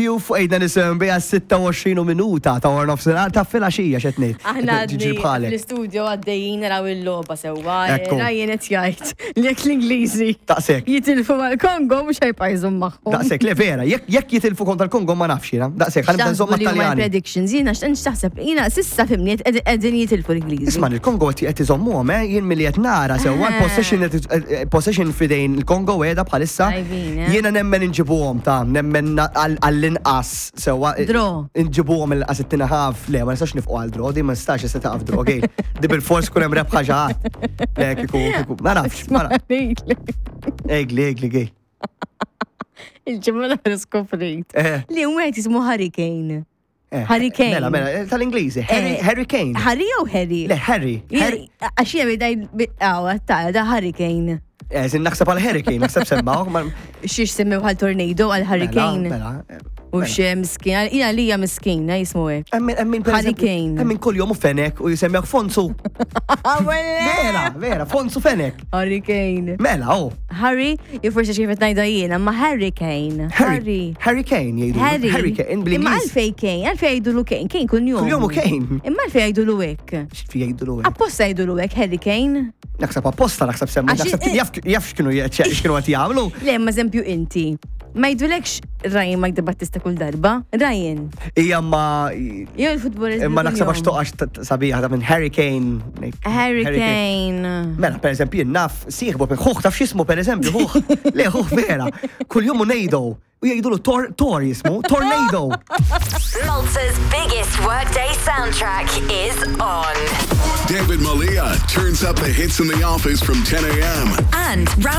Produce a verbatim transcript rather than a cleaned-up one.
Ju fuq ejna nisem bija sitta u għoxrin minuta ta' war nofsinhar ta' filgħaxija x'qed ngħid. Aħna Ġiġi bħalek. L-istudio għaddejjin naraw il-logħba sewwa. Ekku. Ryan qed jgħid li jekk l-Ingliżi Daqshekk. jitilfu mal-Kongo mhux ħa jibqa' jżomm magħhom. Daqshekk, le vera, jekk jekk jitilfu kontra l-Kongo ma nafx jiena. Daqshekk, ħa nibda nżomm X'taħsbu li huma mat-Taljani. Predictions, jiena x'taħseb? Jiena s'issa fhimni qegħdin jitilfu l-Ingliżi. Isma', il-Kongo qed iżommuhom, eh, jien milli qed nara sewwa l-possession qed- possession fidejn il-Kongo qiegħda bħalissa. Tajbin, eh? Jiena nemmen inġibuhom ta' nemmen għall-inqas sewwa. Draw. Inġibuhom il-qas it half. Le, ma nistax nifqu għal draw, di ma nistax issa taqaf draw, gej. Di bil-fors kun hemm rebħa xi ħadd. Le, kieku, kieku, ma nafx, ma nafx. Egli, egli, gej. Il-ġimgħa l skoprejt Eh. li wieħed jismu Hurricane. Eh, Harry Kane. Mela, mela, eh, tal-Ingliżi. Harry, Eh, Harry Kane. Harry jew Harry? Le, Harry. Harry. Għax jiena bidaj, għaw, ta' da Hurricane. Eh, zin naħseb għal Harry Kane, naħseb semmaw. ma- Xiex semmew għal tornado, għal Hurricane. Mela, mela. U xe miskin, jina li hija miskin, jismu hekk. Emmin, emmin, per Harry eżempju, Kane. Emmin kull jom u Fenek u jisemmjak Fonsu. Vera, vera, Fonsu Fenek. Hurricane. Mela, oh. Harry, jew forsi kif qed ngħidha jiena, ma Hurricane. Harry. Harry Kane jgħidu. Harry. Harry Kane, Imma bl-Ingliż. għalfej Kane, għalfej jgħidulu Kane, Kane kull jum. Kull jum u Kane. Imma għalfej jgħidulu hekk. X'fi jgħidu l Apposta jgħidulu hekk Harry Kane. Naħseb apposta, naħseb semmu. Għax- Naħseb jaf jaf x'kienu x'kienu qed jagħmlu. Le, ma eżempju inti. Ma jgħidulekx Ryan Mike De Battista kull darba. Ryan. Ija ma Jew il-futbol. imma naħseb għax toqgħax t- t- sabiħa ta' minn Harry Kane. Harry Kane. Mela, per eżempju, jien naf sieħbu, ħuħ taf x'ismu per eżempju, ħuħ. Le, ħuħ vera. Kull jum u nejdu. U jgħidulu tor, tor jismu, Tornado. Malta's biggest workday soundtrack is on. David Malia turns up the hits in the office from ten a m And round